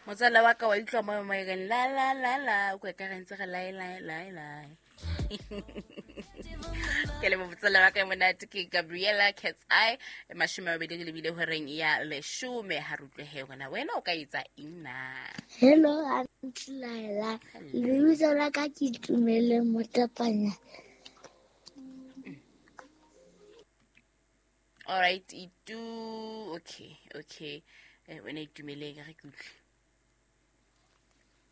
Motswala wa ka wa utlwa mo mo e reng la la la la, o kwa ka re ntse re lae lae lae lae. Ke le motswala wa ka monate ke Gabriela Cat's Eye, 20 re lebile horeng ya 10. Ha re utlwe he gona wena o ka etsa eng na? Hello, Aunty Laila. Lebitso la ka ke Itumeleng Motapanya. All right, itu okay, okay. Wena Itumeleng, re ke utlwe.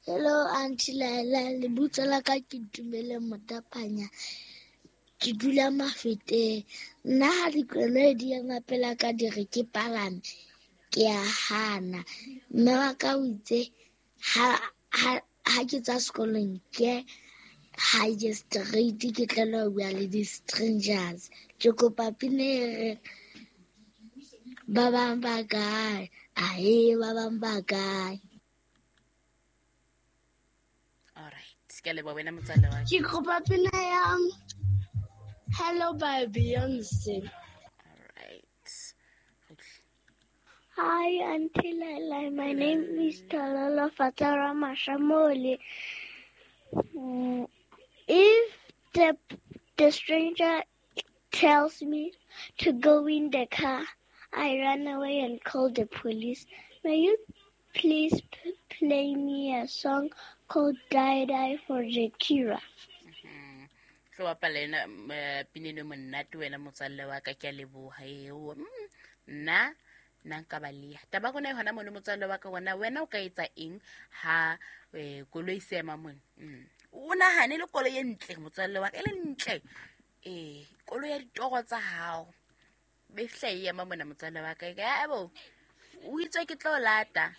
Hello, Aunty Laila. Lebitso la ka ke Itumeleng Motapanya. Ke dula Mafeteng. Nna ha dikoloi di ema pela ka di re ke palame, ke a hana. Mme wa ka o itse ha ke tswa sekolong ke ha ke straight ke tlela ho bua le di-strangers. Ke kopa pina e re ba bang ba kae, ae ba bang ba kae. All right, ke a leboha wena motswalle wa ka. Ke kopa pina ya Hello by Beyonce. All right. Hi, Auntie Laila. My name is Talala Fatara Mashamoli. If the stranger tells me to go in the car, I run away and call the police. May you please play me a song called Die Die for Shakira? Tlo bapala ena, pina eno monate wena motswalle wa ka, ke a leboha eo. Nna nna nka baleha. Taba rona e hona mono motswalle wa ka, wena wena o ka etsa eng ha koloi se ema mone? O nahane le koloi e ntle motswalle wa ka, e le ntle. Koloi ya ditoro tsa hao. Be fihla e ema mona motswalle wa ka, e ka, abo, o itswe ke tlo lata.